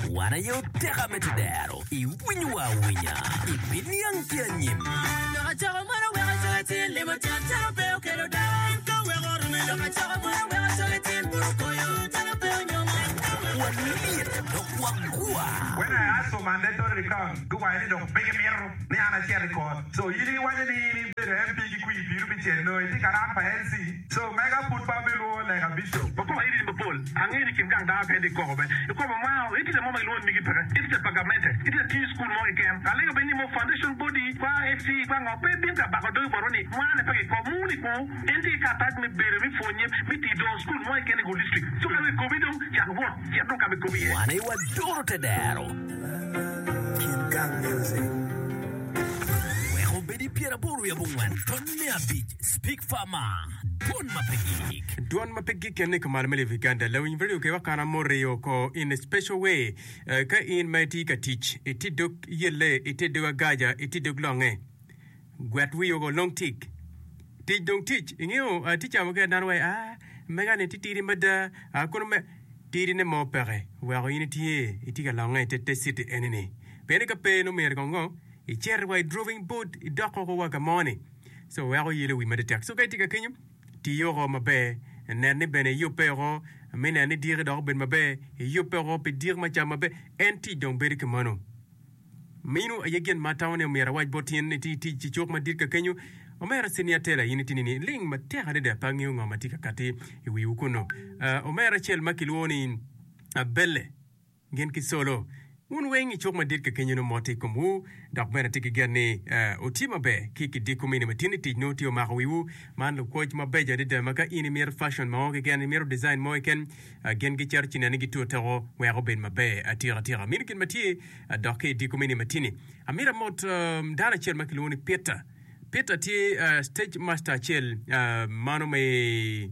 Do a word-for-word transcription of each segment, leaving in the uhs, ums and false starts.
Wan aye oteka me tedero, iwinyowa awinya, ibiniang ki anyim. Walyet dok wagwa. When I ask for mandatory recount, guwaco ni dong pe gimito ni an acit i kot. So in iwaco ni in ibedo M P ki kwir piru pi cel nongo itye ka ran pa L C. So mega pud pe abilwongo lega bishop. Wakoko iri mapol. Angeyo ni kin gang dano kene tye koko bene. I koma mwao, itye mo ma gilwongo ni migi peke. Itye pa gamente. Itye tiyo i cukul mo keken. Alego bene ni mo foundation body kwa F C kwa ngo pe bin ka bako dogi botwa ni mwane pe kiko. Muni ku en tye ki karatac me bedo me pwonye me tiyo dongo cukul mo keken i Gulu district. So ka dong ikobi dong cak wot cit dong ka ma ikobi iye. Wan aye wadoro tedero. Kin Gang Music. Wek obed i pyeraboro wiye abongwen tony me abic Speak Farmer, Dwon ma pe gik. Dwon ma pe gik en ni kumalo me live Uganda. Lawiny radio ke wakana moriyo ko in a special way. Eh, ka in ma itye ka tic, itye dog yelle, itye dog agaja, itye dog longe. Gwet wiyi oko long tic. Tic dong tic. Ingeyo, eh, tic ca mukene dano waci, ah, mega ni tye tidi mada, ah, kono me, tidi ne mo peke. Weko in itye, itye ka longe ite te city eni ni. Pien ni ka pe nongo myero kong ngo, icit wa i droving board, idok oko wa ka mo ni. So weko yelo wi mada tek. So ka itye ka kenyo, ti oko maber. Nen ni bene iyubbe oko, mi nen ni diki dok obed maber. Iyubbe oko pi diki ma cam maber. En tic dong bedo ki mano. Meno aye gin ma atamo ni omyero awac bot in. Iti tic i cuk madit ka kenyo. Omera Senior Taylor, in itye nini? Ling matek adada, pe angeyo ngo ma tye ka kati i wiwu kunnu. Uh, omera acel ma kilwongo ni Abelle gin ki Solo, wun weng i cuk madit ka kenyo nongo mot tye i komwu, dok bene atye ki gen ni uh, wutye maber ki kidiko mini ma tye ni tic nongo tye omako wiwu. Man lukwoc mabeco adada ma ka in imito fashion mo keken, imito design mo keken, uh, gin gicito ci neno ni gitute wek obed maber atika tika. Mino gin ma tye uh, dok ki idiko mini ma tye-ni. Amito amot um, dano acel ma kilwongo ni Peter. Peter tye uh, stage master acel uh, mano me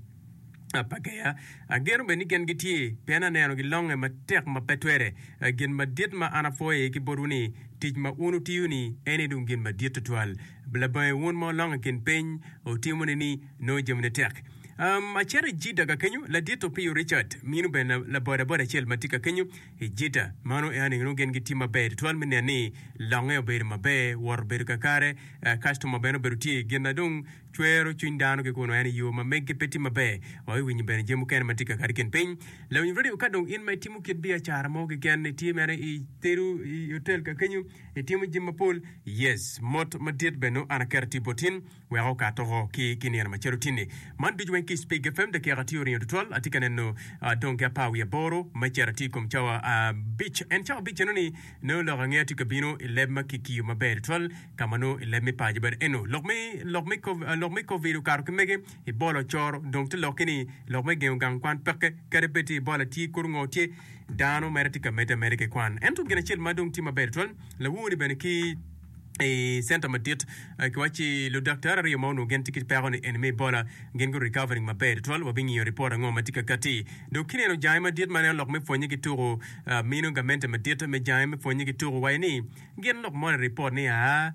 Pageya. Ageno bene ni gin gitye, pien aneno gilonge matek ma pe twere. Gin madit ma an apwoyo iye ki botwu ni, tic ma wun wutiyo-ni en aye dong gin madit twatwal. Labange wun ma wulongo i kin piny, wutimo-ni ni nongo jamine tek. Um, acito i Jidda ka kenyo, ladit Opiyo Richard, mino bene labodaboda acel ma tye ka kenyo i Jidda. Mano en aye nongo gin gitye maber twatwal me neno ni longe obedo maber, wot obedo kakare, kastoma bene obedo tye. Gin na dong cwero cwiny dano ki kunu en i yo ma meggi pe tye maber. Wabiwinyo bene jami mukene ma tye ka kati i kin piny. Lawiny radio, ka dong in ma itimo kit biacara mo keken, itye mere itedo i otel ka kenyo, itimo jami mapol, yes, mot madit bene nongo an aketo tye bot in wek okat oko ki ki nino macalo tinni. Man ducu weng ki i Spig F M, dakika tye oringo tutwal, atye ka neno dong ki apar wiye aboro me cito atye i kom cawa abic. En cawa abic eno-ni nongo lok angeya tye ka bino i leb ma kikiyo maber tutwal. Ka ma nongo i leb me paco bene eno lok me lok me lok me covid okato ki mege Ebola ocoro dong te lokke ni lok me gengo gang kwan peke kadi bed tye Ebola tye kor ngo tye dano mere tye ka medde ameda ki kwan ento gin acel ma dong tye maber tutwal lawor ni bene ki i center madit kiwacci ludaktari aryo ma onongo gin tye ki peko ni eni me Ebola gin gu recovering maber tutwal wabingiyo report ango ma tye ka kati dong kineno jange madit ma neno lok me pwonye ki tuku mino gamente madit me jange me pwonye ki tuku waco ni Gin lok moni ripot ni aa,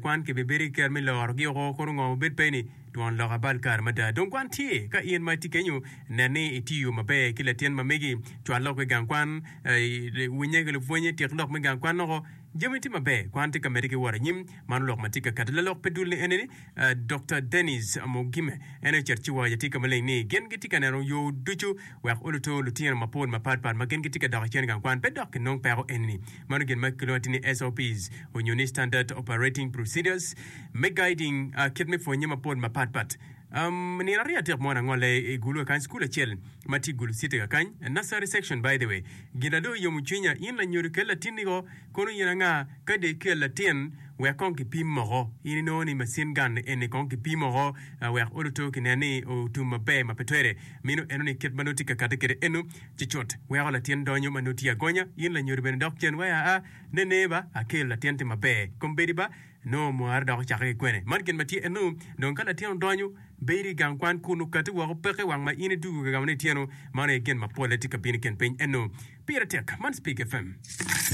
kwan kibibedo ki ker me lorogi oko kono ngo obed pe ni twon lok abal kare mada. Dong kwan tye ka in ma itye kenyo nen ni itiyo maber ki latin ma megi, cwal lok i gang kwan, winye ki lupwonye, tyek lok me gang kwan oko. Jami tye maber, kwan tye ka medde ki wot anyim. Mano lok ma tye ka kati lalok pe dul ni eni ni Dokta Denis Mugime en aye ocito ci waco atir ka maleng ni gin gitye ka neno yo ducu wek oluto lutino mapol mapat pat ma gin gitye ka dok icen i gang kwan pe dok kinong peko eni. Mano gin ma kilwongo atir ni S O Ps onyo ni Standard Operating Procedures me guiding kit me pwonye mapol mapat pat. Um, nino aryo adek mo angolle i Gulu kakany, cukul acel ma tye i Gulu City kakany, nursery section by the way. Gin na dong oyomo cwinya, in lanyodo kel latinni ko, kono in anga, ka dong ikel latin, wek kong kipim moko. In inongo ni macin gun eni kong kipim oko, wek oluto kinen ni otum maber ma pe twere. Mino eno ni kit ma nongo tye ka kati kwede eno, ci cut weko latin donyo ma nongo tye agonya. In lanyodo bene dok cen wai aa, nene ba, akel latin tye maber. Kombeddi ba, Nongo omware dok ocakke ki kwene. Man gin ma tye eno, dong ka latin odonyo, bedo i gang kwan kun okati woko peke wang ma in idwogo ka gamo ni ityeno, mano aye gin ma polle tye ka bino i kin piny eno. Pire tek, man Speak F M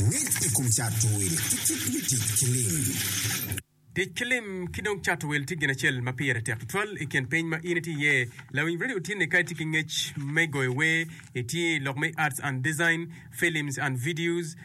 Ngec i kom cato wil ki kit me tic ki lim. Tic ki lim ki dong cato wil tye gin acel ma pire tek tutwal i kin piny ma in itye iye. Lawiny redio tye ni ka itye ki ngec me goyo wer, itye i lok me arts and design, films and videos,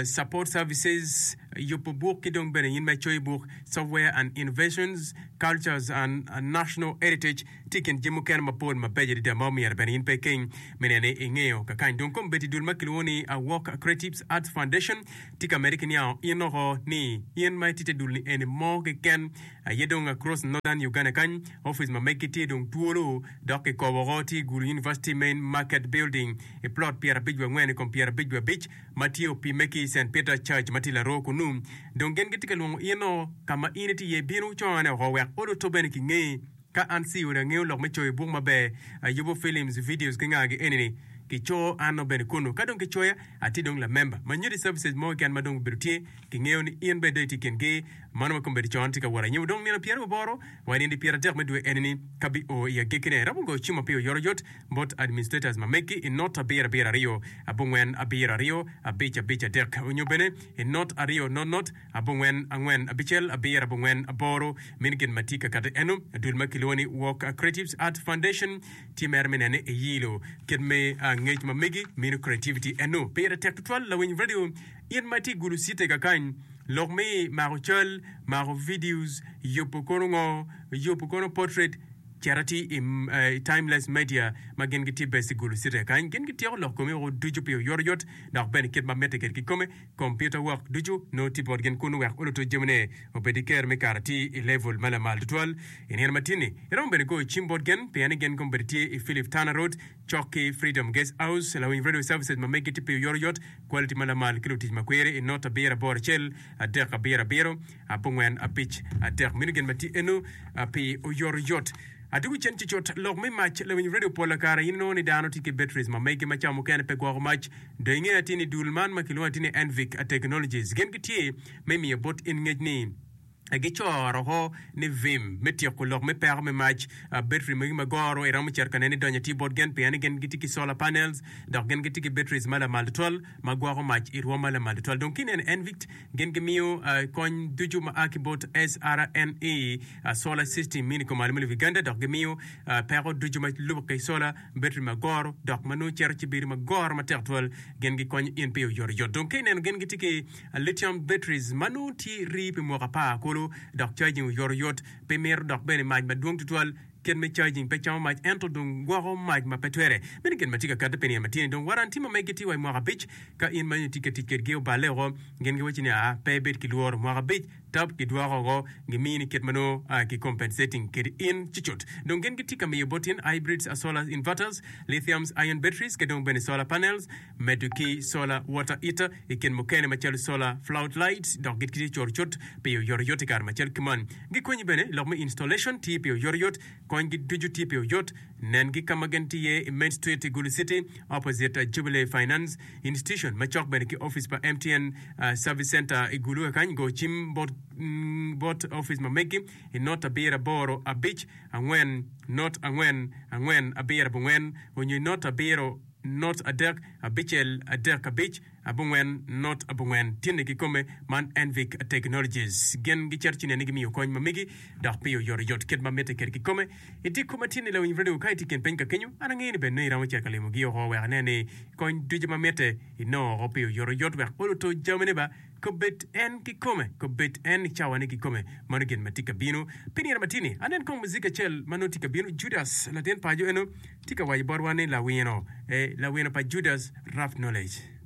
support services, yubo buk ki dong bene in ma icoyo buk, software and innovations, cultures and national heritage tye i kin jami mukene mapol mabeco adada ma omyero bene in pe ikeng me neno ni ingeyo kakany. Dong kombeddi dul ma kilwongo ni Awok Creatives Arts Foundation tye ka medde ki niango in oko ni in ma itye te dul ni eni mo keken aye dong across Northern Uganda kany office ma meggi tye dong twolo dok kikobo oko tye i Gulu University Main Market Building i plot pyerabic wiye angwen i kom pyerabic wiye abic ma tye opimme ki i Saint Peter Church ma tye i Laroo kunu. Dong gin gitye ka lwongo in o ka ma in itye iye bino cone oko wek oluto bene kingeyi. Ka an Sioni angeyo lok me coyo buk maber, ayubo films, videos ki nga gi eni-ni, kico an nongo bene kunu. Ka dong kicoya, atye dong lamemba. Ma nyuti services mo keken ma dong obedo tye, kingeyo ni in bene dong itye i kin gi. Mano ma kombeddi con tye ka wot anyim. Dong nino pyeraryo aboro wa nino pyeradek me dwe eni-ni ka bi o i agikkine, iromo goyo cim ma pi oyotoyot bot administrators ma megi i not abiro abiro aryo abongwen abiro aryo abic abic adek onyo bene i not aryo not not abongwen angwen abicel abiro abongwen aboro. Meno gin ma tye ka kati eno. Dul ma kilwongo ni Walk Creatives Art Foundation tye mere me nene iyilo kit me ngec ma megi meno creativity eno. Pire tek tutwal lawiny radio in ma itye i Gulu City kakany lok me mako cal, mako videos, yubo kono ngo, yubo kono portrait cit atir i Timeless Media ma gin gitye based i Gulu City kakany. Gin gityeko lok komi woko ducu pi oyotoyot dok bene kit ma mitte kwede kikome. Kompiuta wok ducu nongo tye bot gin kunu wek oluto jamine obed ki kero me kato atir i level ma lamal tutwal. I nino ma tin-ni, iromo bene goyo cim bot gin pien ni gin kombeddi tye i Philip Tanner Road cok ki Freedom Guest House. Lawiny Radio Services ma megi tye pi oyotoyot, quality ma lamal ki lutic makwiri i not abiro aboro acel adek abiro abiro abongwen abic adek. Meno gin ma tye eno pi oyotoyot. Adwogo cen cucut lok me mac lawiny radio pol kare in inongo ni dano tye ki batteries ma megi ma ca mukene pe gwoko mac. Dong ingeyo atir ni dul man ma kilwongo atir ni Envic Technologies gin gitye me miyo bot in ngec ni gicoro oko ni vim me tyeko lok me peko me mac. Battery magi ma goro iromo cito ka nene idonyo atir bot gin pien ni gin gitye ki solar panels dok gin gitye ki batteries ma lamal tutwal ma gwoko mac i rwom ma lamal tutwal. Dong ka ineno Envic gin gimiyo kony ducu ma a ki bot S R N E Solar System mini kumalo me lobo Uganda dok gimiyo peko ducu ma lubo ki solar battery ma goro dok ma nongo cito ci bedo ma goro matek twal. Gin gikonyo in pi oyotoyot. Dong ka ineno gin gitye ki lithium batteries ma nongo tye rii pi mwaka apar kulu dok charging oyotoyot pe mito dok bene mac madwong tutwal. Kit me charging pe camo mac ento dong gwoko mac ma pe twere. Meno gin ma tye ka kati pi nino ma tye-ni. Dong waranti ma megi tye wa i mwaka abic. Ka in ma itye ka tic kedgi oballe woko, gin giwacci ni, Aa, pe ibed ki lworo. Mwaka abic tab gidwoko woko, gimini kit ma nongo ki compensating kedi in cucut. Dong gin gitye ka miyo bot in hybrids, solar inverters, lithiums ion batteries ki dong bene solar panels, medo ki solar water heater i kin mukene macalo solar flood lights dok gitye cutcut pi oyotoyot i kare macalo ki man. Gikonyi bene i lok me installation tye pi oyotoyot, konygi ducu tye pi oyot. Nengi ka ma gin tye iye i Main Street i Gulu City opposite Jubilee Finance Institution macok bene ki opic pa M T N Service Center i Gulu kakany. Go cim bot bot opic ma megi i not abiro aboro abic angwen not angwen angwen abiro abongwen onyo i not abiro not adek abicel adek abic abongwen not abongwen. Tyene kikome man Envic Technologies gin gicito ci nene gimiyo kony ma megi dok pi oyotoyot kit ma mitte kwede kikome. I dyekor ma tyene lawiny radio ka itye i kin piny ka kenyo, an angeyo ni bene nongo iromo cito ka limogi oko wek inen ni kony ducu ma mitte inongo oko pi oyotoyot wek oluto jamine ba kobed en kikome, kobed en i cawane kikome. Mano gin ma tye ka bino pi nino ma tye-ni. Anen kong muzik acel ma nongo tye ka bino. Judas, latin paco eno, tye ka waco botwa ni lawino, eh, lawino pa Judas, Rough Knowledge.